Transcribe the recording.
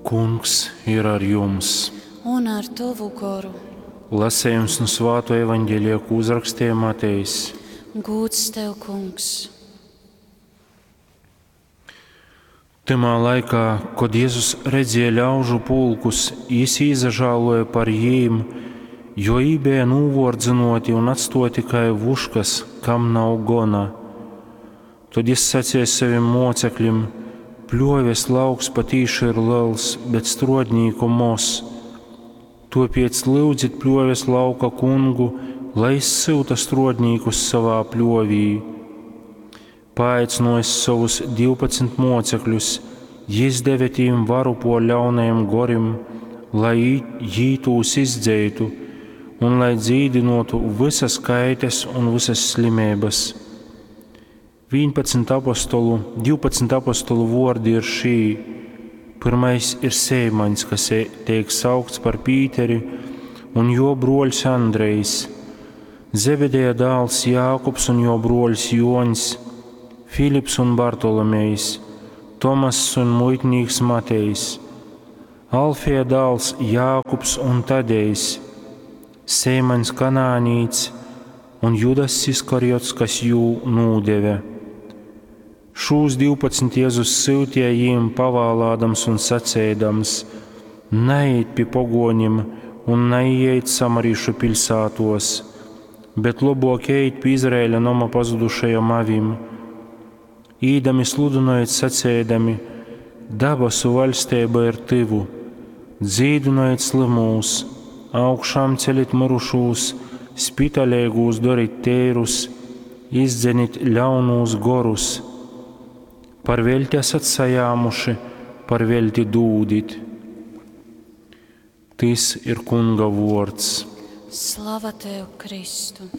Kungs ir ar jums! Un ar tovu goru. Lasējums nu Svāto evaņģēlija, ko uzrakstīja Matejs. Gūds tev, Kungs! Tymā laikā, kod Jezus redzēja ļaužu pulkus, jis īsažāloja par jīm, jo jī beja nūvōrdzynōti un atstōti kai vuškas, kam nav gona. Tod jis saceja sovim mōceklim: Pļōves lauks patīši ir lels, bet strōdnīku moz. Tōpēc lyudzit pļōves lauka kungu, lai jis syuta strōdnīkus sovā pļōvī. Paaicynōjis sovus 12 mōcekļus, jis deve tīm varu pōr ļaunajim gorim, lai jī tūs izdzeitu un lai dzīdynōtu vysas kaites un vysas slimeibas. 11 apostolu, 12 apostolu vōrdi ir šī. Pyrmais ir Seimaņs, kas teik saukts par Pīteri, un jō brōļs Andrejs, Zebedeja dāls Jākubs un jō brōļs Jōņs, Filips un Bartolomejs, Tomass un muitnīks Matejs, Alfeja dāls Jākubs un Tadejs, Seimaņs Kanānīts un Judass Iskariots, kas jū nūdeve. Šūs 12 Jezus syutīja jīm pavālādams un saceidams: Naejit pi pogōnim un naīejit samarīšu piļsātōs, bet lobōk ejit pi Izraēļa noma pazudušajom avim. Īdami sludynojit saceidami: Dabasu vaļsteiba ir tyvu. Dzīdynojit slymūs, augšām celit myrušūs, spitaleigūs dorit teirus, izdzenit ļaunūs gorus. Par veļti esat sajāmuši, par veļti dūdit. Tys ir Kunga vōrds. Slava tev, Kristu!